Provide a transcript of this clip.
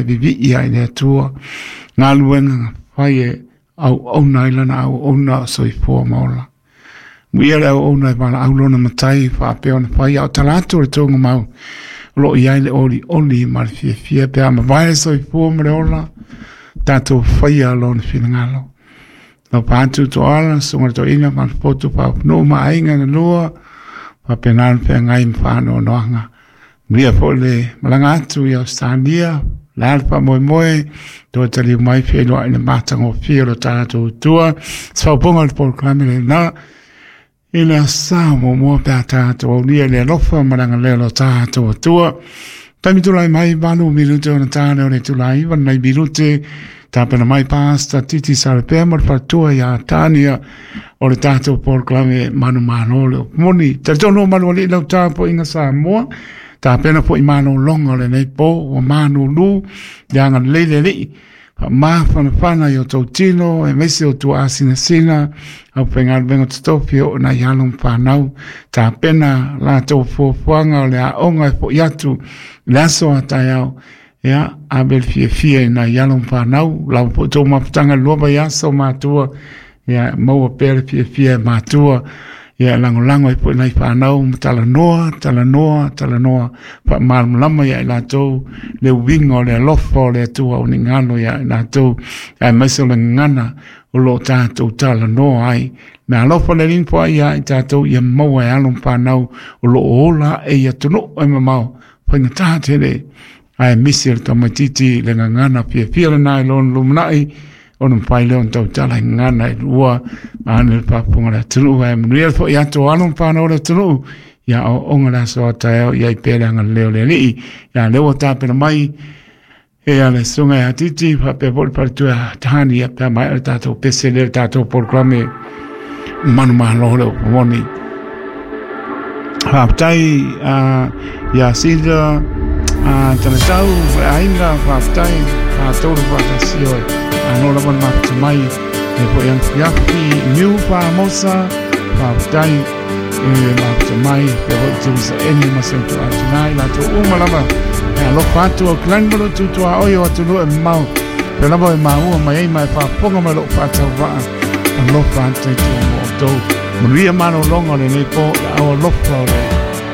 Vivii ai le Atua galuega fai e auauna ai lana auauna o soifua ma ola. Muia le auauna e valaau lona matai faapea ona fai a o tala atu o le tuugamau o lo o i ai le olioli ma le fiafia pe a mavae le soifua ma le ola, tatou faia lona finagalo. Lau atu Toala, susuga i le toeaina Falepoto Papanuu ma aiga na lua, faapena ona feagai ma faanoanoaga. Manuia foi le malaga atu i Ausetalia, le a le faamoemoe, toe taliu mai feiloai le matagofie o lo tatou Atua. Se faaupuga o le polokalame lena, i le aso sa muamua pe a tatou aulia i le alofa ma le agalelei o lo tatou Atua. Taimi tulai mai 8 minute ona ta lea o le itula 9 nai minute, tapena mai Pastor Titi Salepea ma le faletua ia Tania o le tatou polokalame manumalo le moni. Talitonu o malualii lau tapuaiga Samoa, tapena foi malologa o lenei po ua manulu le agalelei le Alii faamafanafana i o tou tino aemaise o tuaasinasina au faigaluega totofi o nai alo ma fanau tapena latou fuafuaga o le aoga e foi atu i le aso a taeao. Ia, ave le fiafia i nai alo ma fanau, lava foi tou mafutaga i le 2 vaiaso matua, ia maua pea le fiafia e matua, ia lagolago ai foi nai fanau ma talanoa, talanoa, talanoa, faamalamalama ia i latou le uiga o le alofa o le Atua o ni galo ia i latou, aemaise o le gagana o lo o tatou talanoa ai. Me alofa le Alii ma foai ia i tatou ia maua e alo ma fanau o lo o ola ae i atunuu e mamao, faigata tele, ae misi o le tamaitiiti le gagana fiafia lena i lona lumanai, ona mafai lea ona tautala i gagana e lua, vaeane le faafofoga a le atunuu, ae manuia le foi atu o alo ma fanau o le atunuu, ia aoaoga le aso a taeao i ai pea le agalelei o le Alii. Ia lea ua tapena mai e le susuga ia Titi faapea foi le faletua ia Tani ia pe a maea le tatou pese lea le tatou polokalame manumalo le upu moni. Faafetai ia Sida Talatau ma le aiga, faafetai tatou le faatasi oe. Ano lava le mafuta mai e foi afiafi Niu Famosa, faafetai e mafuta mai pea foi Teresa Eni ma se utu atunai latou uma lava e alofa atu au kilani ma lo tutua oi o atunuu e mamao pea lava e maua mai ai ma e faafofoga mai lou faatauvaa alofa atu i tua mo outou. Manuia malologa o lenei po, le au alofa o le